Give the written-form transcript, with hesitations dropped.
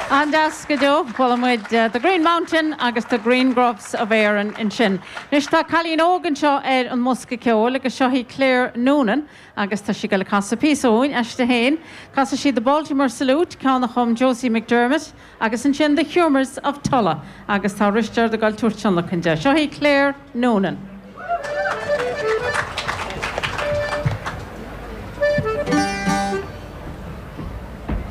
An-deas go deo. Chuala muid The Green Mountain agus The Green Groves of Erin ansin. Anois tá cailín óg anseo ar an mbosca ceoil agus seo í Claire Noonan agus tá sí ag dul a casadh píosa dúinn aisti féin. Casfaidh sí The Baltimore Salute, ceann a chum Josie McDermott, agus ansin The Humours of Tulla agus tá Risteard ag dul tabhairt tionlacan di. Seo í Claire Noonan.